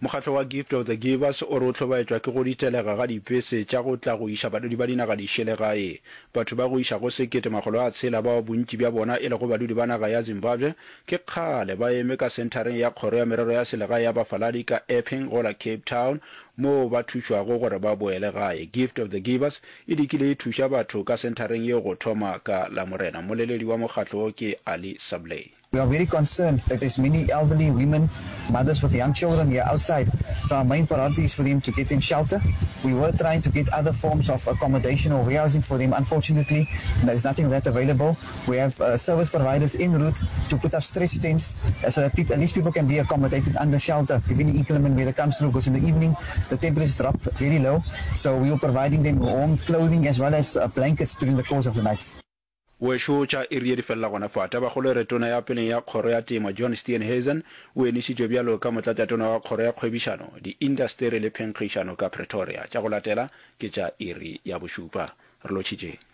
Mokgatlo wa Gift of the Givers o re o hlobaetšwa ke go ditelega ga dipese tša go tla go iša badudi ba dinaga dišele gae. Batho ba go iša go 1600 bao bontši bja bona e lego badudi ba naga ya Zimbabwe ke kgale ba eme ka senthareng ya Kgoro ya Merero ya Selegae ya Bafaladi ka Epping go la Cape Town moo ba thušwago gore ba boele gae. Gift of the Givers e dikile e thuša batho ka senthareng yeo go thoma ka Lamorena. Mmoleledi wa mokgatlo wo ke Ali Sablay. We are very concerned that there's many elderly women, mothers with young children here outside, so our main priority is for them to get them shelter. We were trying to get other forms of accommodation or warehousing for them. Unfortunately, there's nothing of that available. We have uh, service providers en route to put up stretch tents uh, so that people, at least people can be accommodated under shelter if any inclement weather comes through, because in the evening the temperatures drop very low. So we are providing them warm clothing as well as uh, blankets during the course of the night. Wešo tša iri ye di felela gona fa. Tabakgolo e re Tona ya peleng ya Kgoro ya Temo, John Steenhuisen, o enišitšwe bjalo ka Motlatšatona wa Kgoro ya Kgwebišano, Diindasteri le Phenkgišano ka Pretoria. Tša go latela ke tša iri ya bošupa. Re lotšhitšeng.